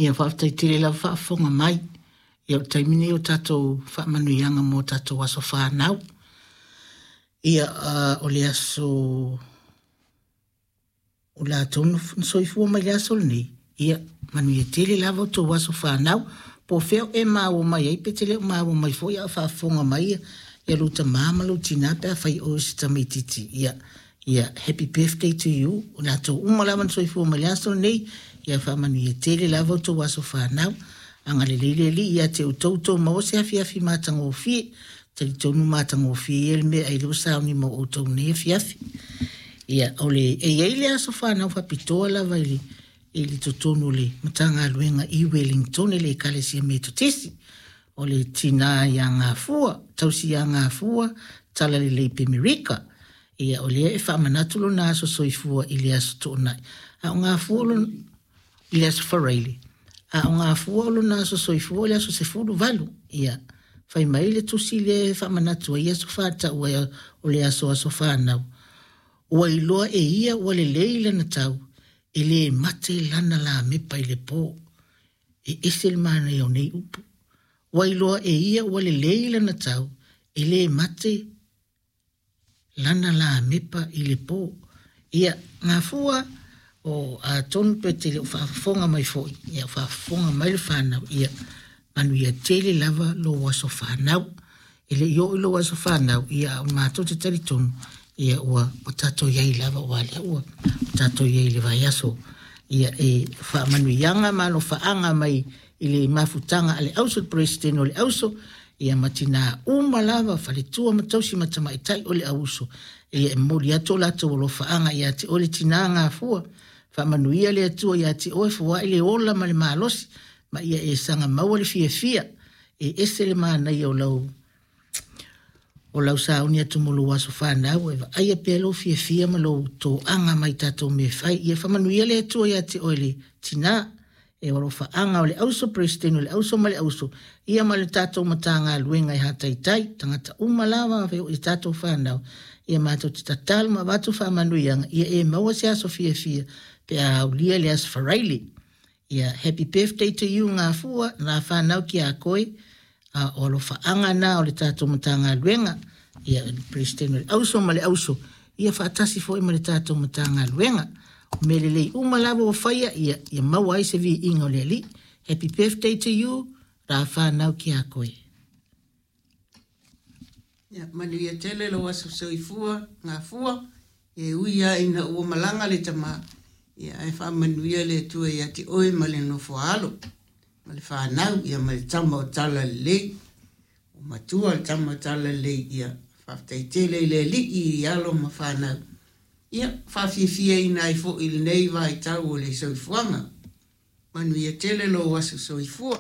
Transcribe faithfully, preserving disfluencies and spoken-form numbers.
Ia faafetai tele lava faafofoga mai. Ia o le taimi lenei o tatou faamanuiaga mo tatou aso fanau. Ia uh, o le aso o latou na soifua mai le aso lenei, ia manuia tele lava o tou aso fanau. Po o fea e maua mai ai pe te le o maua mai foi a o faafofoga mai ia, ia lou tamā ma lou tinā pe afai o se tamaitiiti. Ia, ia happy birthday to you. O latou uma lava na soifua mai le aso lenei, ia faamanuia tele lava o tou aso fanau. Agalelei le Alii ia te outou tou maua se afiafi matagofie. Talitonu matagofie ia le mea ai lea ua sauni ma outou nei afiafi. Ia, o le, e i ai le aso fanau faapitoa lava i le, i le totonu o le Matagaluega i Wellington i le Ekalesia Metotisi. O le tinā ia Gafua, tausi ia Gafua, Talalelei Pemerika. Ia, o lea e faamanatu lona aso soifua i le aso Toonai. A o Gafua lona, i le aso Faraile. A o Gafua o lona aso soifua o le aso sefulu valu. Ia, fai mai le tusi lea e faamanatu ai aso faatau ai o le aso aso fanau. Ua iloa e ia ua lelei lana tau, e le mate lana lamepa i le po. E ese le manaia o nei upu. Ua iloa e ia ua lelei lana tau, e le mate lana lamepa i le po. Ia, Gafua, o atonu pe te le o faafofoga mai foi, ia faafofoga mai le fanau, ia manuia tele lava lou aso fanau. E le i oo i lou aso fanau, ia a o matou te talitonu, ia ua, ua tatou iai lava ua lea ua tatou iai i le vaiaso. Ia e faamanuiaga ma alofaaga mai i le mafutaga a le auso, le Peresetene o le auso, ia ma tinā uma lava, faletua ma tausi ma tamaitai o le auso. Ia e momoli atu o latou alofaaga ia te oe le tinā Gafua. Faamanuia le Atua ia te oe, foai le ola ma le malosi, ma ia e saga maua le fiafia. E ese le manaia o lau o lau sauni atu mo lou aso fanau, e vaaia pea lou fiafia ma lou toaga mai tatou mea fai. Ia faamanuia le Atua ia te oe le tinā. E o alofaaga o le auso, Peresetene o le auso ma le auso, ia ma le tatou Matagaluega e hataitai, tagata uma lava i tatou fanau. Ia matou te tatalo ma avatu faamanuiaga, ia e maua se aso fiafia pe a aulia le aso Faraile. Ia happy birthday to you Gafua, la fanau ki a koe, a o alofaaga na o le tatou Matagaluega, ia le Peresetene o le auso ma le auso, ia faatasi foi ma le tatou Matagaluega. O mea lelei uma lava ua faia, ia, ia maua ai se viiga o le Alii. Happy birthday to you, la whanau ki a koe. Ia, manuia tele lou aso soifua, Gafua, e ui lava ina ua malaga le tamā, ia ae faamanuia le Atua ia te oe ma le nofo a alo, ma le fanau, ia ma le tama o Talalelei, o matua le tama o Talalelei, ia faafetai tele i le Alii i alo ma fanau. Ia, faafiafiaina ai foi i lenei vaitau o le soifuaga. Manuia tele lou aso soifua.